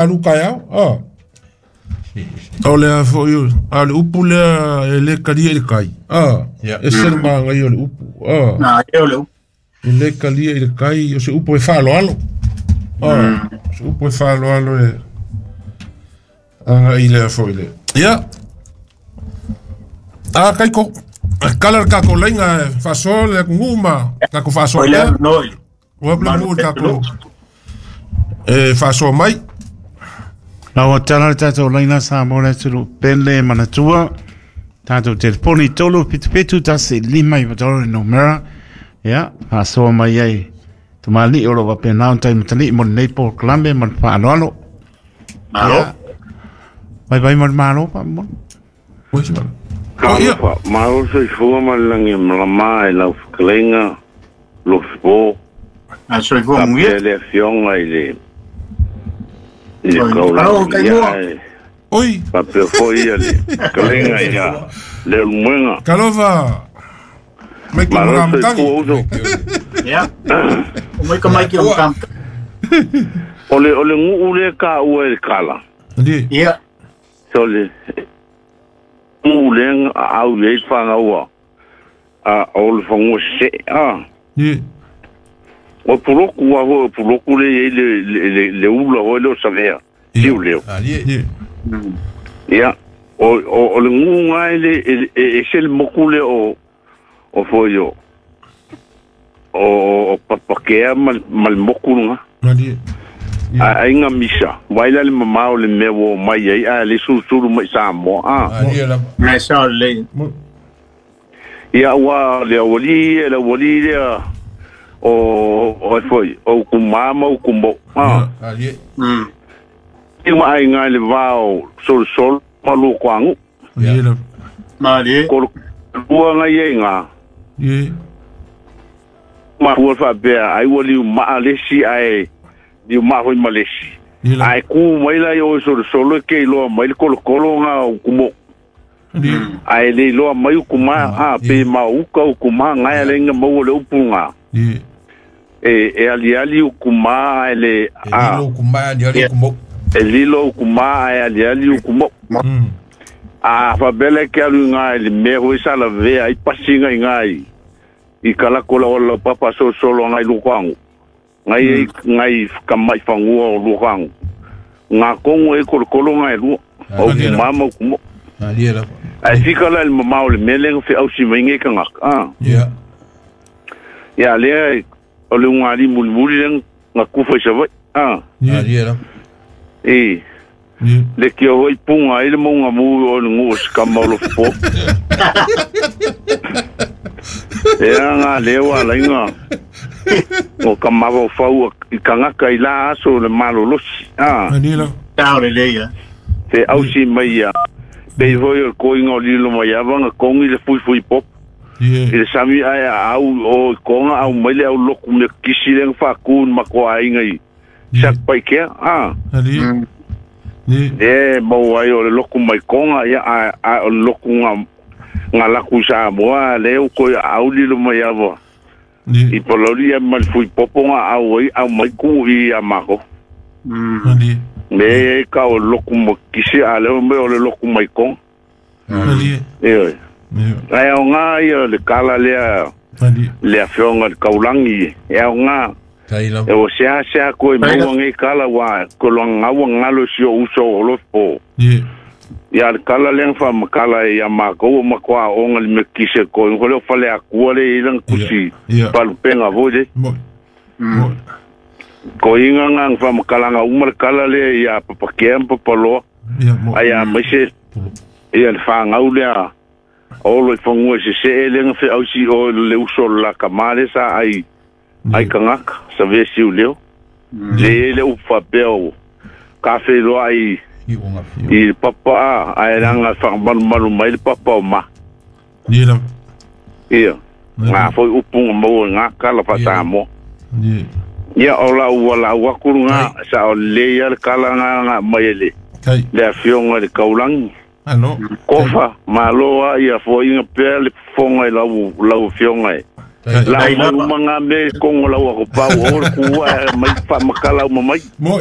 Alu taeao, a. O le a foi, a o le upu lea e le talia i le tai, a. Ese le manaia o le upu, a. Na e o le upu. E le talia i le tai, o se upu e faaaloalo, a. O se upu e faaaloalo e agai lea foi le. Ia, a Kaiko, kala le tatou laina e faasoa le atunuu ma tatou faasoa Oi le pea. noi. Ua le atunuu i le tatou e faasoa mai. Lau tala le tatou laina Samoa le atunuu pele manatua. Tatou telefoni 377 1 5 93 le numera. Ia, faasoa mai ai. Tamalii o lo o faapena ona taimatalii mo lenei polokalame ma le faaaloalo. Malo. Ia, vai vai ma le malo faamolemole. Ua se mala. Oh, ia. Talofa, malo le soifua ma le lagi e malama i lau fetalaiga Lofipo, A soifua manuia. faapea le afioga i le i le Oi, kaulagi alo, Kaimua. ia e Oi, faapea foi ia le fetalaiga ia Leulumoega. talofa. Mai ke Malo le mga matagi. soifua uso. Ia. O mai ka mai ki o kam. O le guu lea taua e le kala. Ali. Ia. So le guu lea na aau i ai le fanau a o le fanua sesee a. Ye. O puloku a foi o puloku le i ai le ula foi lea o Savea. Siu leo. Ye. Ia, o le guu ga e le e ese le moku lea o foi o Papakea ma le moku luga. Ali. A ai ga misa, vai la le mamao le mea ua omai ai ae le sulusulu mai Samoa a. Na sa le. Mo. Ia ua le aualii e le aualii lea o ai foi o ukumā ma ukumō a. I ma aiga i le va o Solosolo ma Luakuagu'u. Ye la. Ma le. Kolo lua ga ia i gā. Ye. Mafua faapea ai ua liumaa le isi ae liumaa foi ma le isi. Ye la. Ae ku mai la i o Solosolo e ke iloa mai le kolokolo ga o ukumō. Ali. Ae le iloa mai ukumā a pe mauka ukumā gae alaiga maua le upu gā. Ye. E aliali ukumā ae le a e lilo ukumā ae aliali ukumō. A faapea le ke alu i gā i le mea foi sa lavea ai pasiga i gā i kalakola o lau papa Solosolo agai Luakuago. Gai ai gai kama'i fagua o Luakuago. Gā kogo e kolokolo ga e lua. O ukumā ma ukumō. Ae fika la i le mamao o le mea lea na feausi mai ai tagata a. Ia lea o le ugalii mulimuli lea na kufa i Sava'i a. Ye. E Ye. le kia hoi punga ai le mauga mu o le guu o se kama o Lofopo. Ea ga lea ua alaiga o ka mafaufau i tagata i la aso o le malolosi a. Ali la. Tau le le ia. Feausi mai ia pei foi o le koiga o lilo mai ava na kogi le fuifui popo Ye. i le sami ae aau o i Koga au mai le au loku mea kisi lea na faakū i makoa aiga i Satpaikea a. Ali. Ye. E maua ai o le loku mai Koga ia ae o le loku ga laku i Samoa lea ua toe aau lilo mai ava Ye. i Palauli ia ma le fuipopo ga au ai au mai ku'u i ia makou. Ali. Me e ka o le loku ma kisi a lea mai o le loku mai Koga. Ali. Ioe. Ye. Ae aogā ia le kala lea Ali. le afioga i le kaulagi e aogā e ua seasea koe maua nei kala ua koloagaua galo si o uso o Lofopo. Ye. Ia le kala lea na faamakala ai ia makou o makoa aoga le mea kisi e koe le o faleakua le i lana kusi Ia. palupega foi le. Mo. Mo. Koiga ga na faamakalaga uma le kala lea ia Papakea ma Papaloa. Ia mo. Ae amaise ia le fagau lea olo i fagua i sesee lea na feausi o le uso o le lakamā lea sa ai ai tagata sa vea siuleo. Le ai le upu faapea o kafeiloai i le papa a ae laga faamalumalu mai le papa o ma. Ye la. Ia gā foi upu ga maua i gā kala faasamoa. Ye. Ia o lau ua lau aku lugā sa o lelei a le kala ga ga mai e le Kai. le afioga i le kaulagi. Alo. Kofa malo a ia foaiga pea le fofoga i lau lau afioga e. Kai. Lau Ai mai lava. uma ngā mea i kongo lau akopau o le kua e mai faamakala uma mai. Mo.